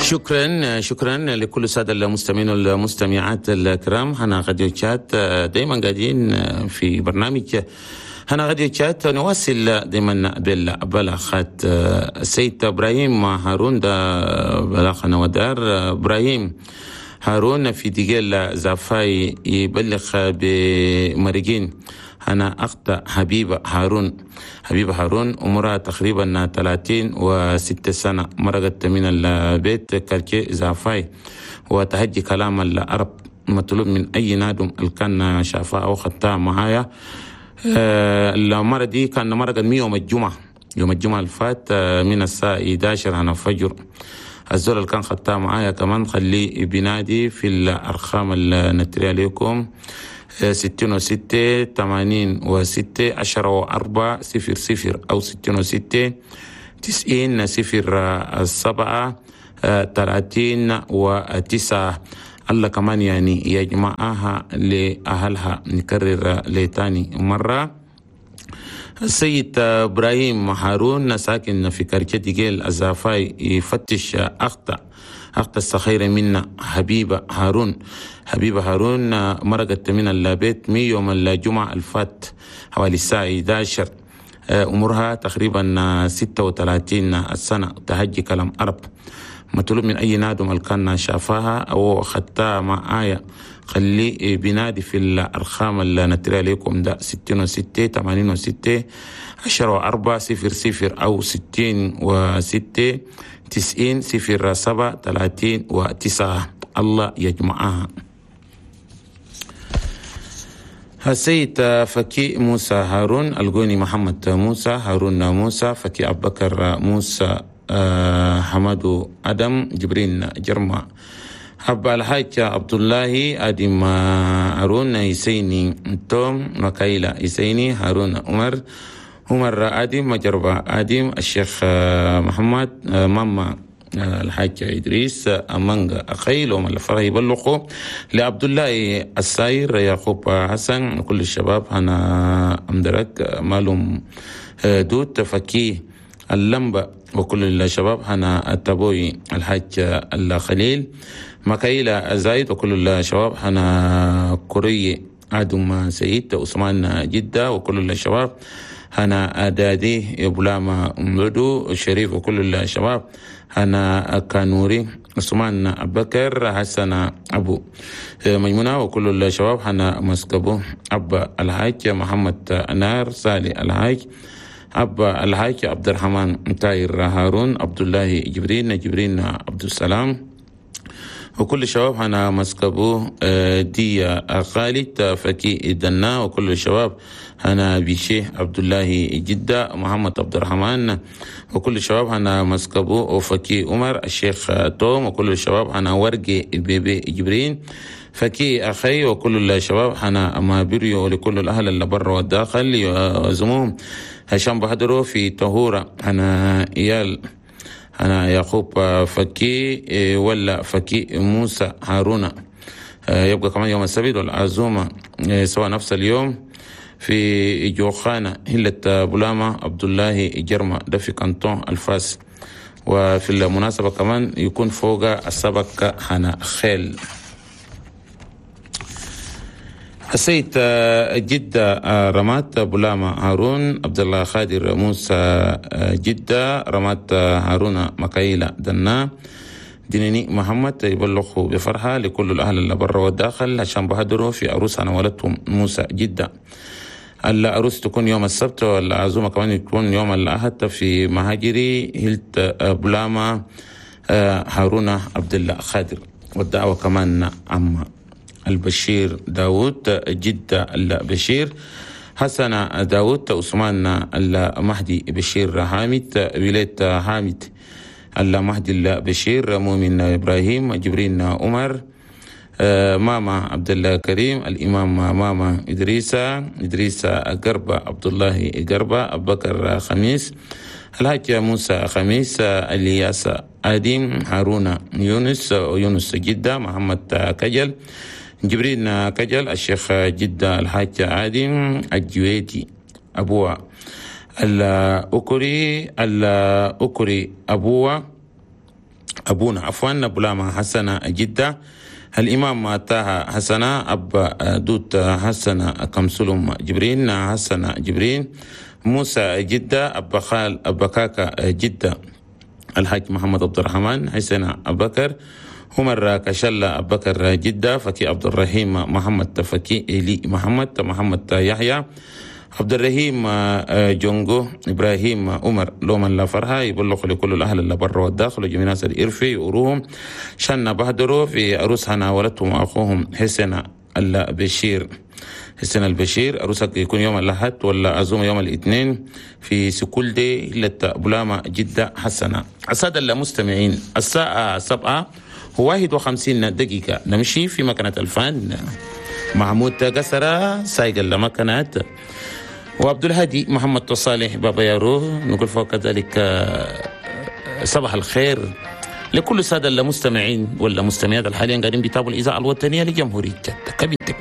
شكرا شكرا لكل السادة المستمعين والمستمعات الكرام. هنا راديو تشاد دايما قاعدين في برنامج هنا راديو تشاد، نواصل دايما بالبلاغات. السيد ابراهيم هارون ده بلاغنا ودار. ابراهيم هارون في ديجيل زافاي يبلغ بمرجين أنا أخت حبيبة هارون. حبيبة هارون عمرها تقريبا 36 سنة، مرقت من البيت quartier زافاي وتهجي كلام العرب. مطلوب من أي نادم اللي كان شافها أو خدتها معايا. المرة دي كان مرقت من يوم الجمعة، يوم الجمعة الفات من الساعة 11 عن الفجر. الزول اللي كان خدتها معايا كمان خليه بنادي في الأرقام اللي نتري عليكم 66 86 10 4 0 0 أو 66 90 0 7 30 و9. الله كمان يعني يجمعها لأهلها. نكرر لتاني مرة، السيد إبراهيم هارون ساكن في quartier ديجيل الزافاي يفتش أخت الصغيرة منا حبيبة هارون. حبيبة هارون مرقت من البيت من يوم الجمعة الفات حوالي الساعة 11، عمرها تقريبا 36 سنة، تهجي كلام عرب. مطلوب من أي نادم اللي كان شافاها أو خدتها معايا خليه بنادي في الأرقام اللي نتري عليكم ده 66 86 10 4 0 0 أو 66 90 0 7 30 و9. الله يجمعها. السيد فكي موسى هارون القوني محمد موسى هارون موسى فكي أبو بكر موسى حمد أدم جبرين جرما أبا الحاج عبد الله أدم هارون يسيني توم مكايلة يسيني هارون عمر عمر أدم مجربة أدم الشيخ محمد ماما الحاج إدريس أمانغ أخيل ومن الفرح يبلغوا لعبد الله الساير يعقوب حسن كل الشباب هنا أمدرك مالهم دوت فكي اللمبة وكل الشباب هنا التبوي الحاج الخليل مكايلة زايد وكل الشباب هنا كوري آدم سيد عثمان جدة وكل الشباب هنا دادي بلاما مدو شريف وكل الشباب هنا كانوري عثمان بكر حسن أبو ميمونة وكل الشباب هنا مسكبو أبا الحاج محمد نار سالي الحاج أبا الحاج عبد الرحمن تاير هارون عبد الله جبرين جبرين عبد السلام وكل الشباب هنا مسكبو دي خالد فكي دنا وكل الشباب هنا بيشي عبد الله جدة محمد عبد الرحمن وكل الشباب هنا مسكبو وفكي عمر الشيخ توم وكل الشباب هنا ورقي بيبي جبرين فكي أخي وكل الشباب هنا مابريو لكل الأهل اللي برا والداخل يعزموهم هشام بهدرو في طهورة هنا إيال أنا يعقوب فكي ولا فكي موسى هارون. يبقى كمان يوم السبت والعزومة سواء نفس اليوم في جوخانة هلة بلامة عبد الله جرمة ده في كانتون الفاس. وفي المناسبة كمان يكون فوق السبك هنا خيل. السيد جدة رمات بلامة هارون عبد الله خادر موسى جدة رمات هارون مكايلة دنا دينيني محمد يبلغوا بفرحة لكل الأهل اللي برا والداخل عشان بهدروا في عروس أنا ولدتهم موسى جدة. العروس تكون يوم السبت والعزومة كمان يكون يوم الأحد في مهاجري هلت بلامة هارون عبد الله خادر. والدعوة كمان عم البشير داود جدة البشير حسن داود عثمان المهدي بشير حامد ولاية حامد المهدي البشير مؤمن إبراهيم جبرين عمر ماما عبد الله كريم الإمام ماما إدريسة إدريسة قربة عبد الله قربة أبو بكر خميس الحاج موسى خميس الياس آدم هارون يونس يونس جدة محمد كجل جبرين كجل الشيخ جدة الحاج عادم الجويدي أبوه الأكري الأكري أبوه أبونا عفوا بلاما حسنة جدة، الإمام طه حسنة، أبا دوت حسنة، كمسلم جبرين حسنة جبرين، موسى جدة، أبا خال أبا كاكا جدة، الحاج محمد عبد الرحمن حسن أبكر، عمر كشلة أبكر جدة، فكي عبد الرحيم محمد، فكي إلي محمد، محمد يحيى، عبد الرحيم جونجو، إبراهيم عمر لومن لا فرها. يبلغ لكل الأهل اللي برا والداخل وجميع ناس الإرفي يقروهم شن بهدروا في عروس هنا ولدتهم أخوهم حسن البشير. حسن البشير عروسك يكون يوم الأحد ولا عزومة يوم الاثنين في سكول دي بلاما جدة حسنة. السادة المستمعين، الساعة 7:51 نمشي في مكنة الفن محمود قسرة سايق المكنات وعبد الهادي محمد صالح بابا يارو. نقول فوق ذلك صباح الخير لكل السادة المستمعين والمستمعات الحاليا قاعدين بيتابعوا الإذاعة الوطنية لجمهورية تشاد.